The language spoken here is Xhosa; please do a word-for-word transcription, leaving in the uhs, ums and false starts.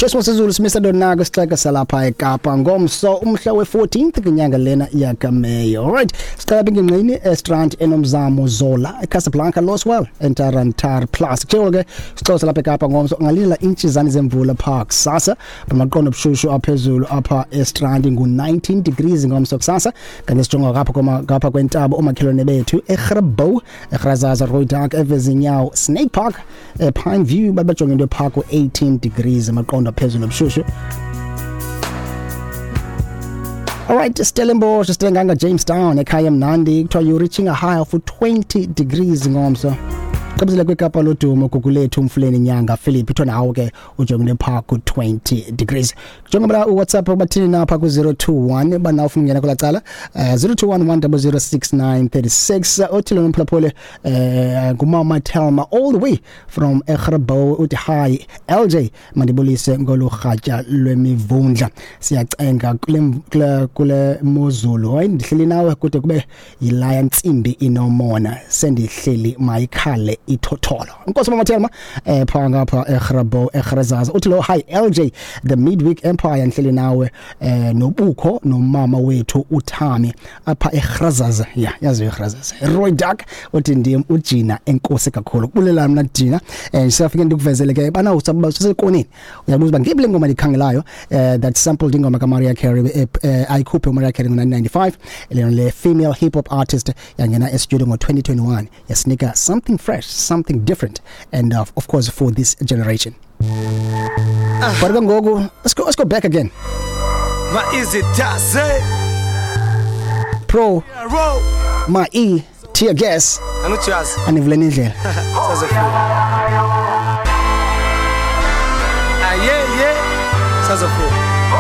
Jesu Sizulu simisa donako sixeka salapha eKapa ngomso umhla we fourteenth kwinyanga lena yakaMeyi. Alright, siqala bingingqini eStrand, eNomzamo, Zola, eCasablanca, Loswell, Entarantar Plus. Kuthiwa ke sixoxa lapha eKapa ngomso ungalindela intshizane zemvula park kusasa, bamaqondo obushushu aphezulu apha eStrand ngu nineteen degrees ngomso kusasa. Kanti sijonga ngapha koma ngapha kwentaba, omakhelwane bethu eGrabouw, eGrazaza, Rooidak, Evezinyawo, Snake Park, ePine View, babajonge into park eighteen degrees amaqondo aphezulu obushushu. Alright, Stellenbosch, Stellenganga, Jamestown, ekhaya mnandi, kuthiwa you reaching a high of twenty degrees ngomso. Qabizile kwiKapa lodumo, Gugulethu, Umfuleni, Nyanga, Philip, kuthiwa nawo ke ujongene phaa ku twenty degrees. Jonga uWhatsApp bathini napha ku zero two one banawo ufuna ungena kulaa cala, eh zero two one one zero zero six nine three six. Othi lona umphulaphule eh ngumama Thelma all the way from eGrabouw, uthi, "Hi L J, mandibulise ngolu rhatya lwemivundla, siyacenga kule kule kule mozulu. Hayi, ndihleli nawe kude kube yilaya ntsimbi inomona, sendihleli mayikhale ithotholo." Inkosi mama Thelma eh pha ngapha eGrabouw, eGrazaza. Uthi lo, "Hi L J, the Midweek Empire, ndihleli nawe eh nobukho nomama wethu uThami apha eGrazaza." Ya, yazi eGrazaza, Rooidak. Uthi, "Ndim uJina, enkosi kakhulu." Kubulela mina Jina. eh siyafike ndikuvezele ke bana usekoneni, uyabuza uba ngiphi le ngoma ndikhangelayo eh that sampled ingoma kaMariah Carey eh, eh, ayikhuphe uMariah Carey ngo nineteen ninety-five. Lena le female hip hop artist yangena e-studio ngo twenty twenty-one, yasinika something fresh, something different and uh, of course for this generation. But ke ngoku let's go let's go back again. Ma easy does it. Pro Roll. Ma E tear gas. Angithi uyazi. Anivuleni indlela. Sazofika.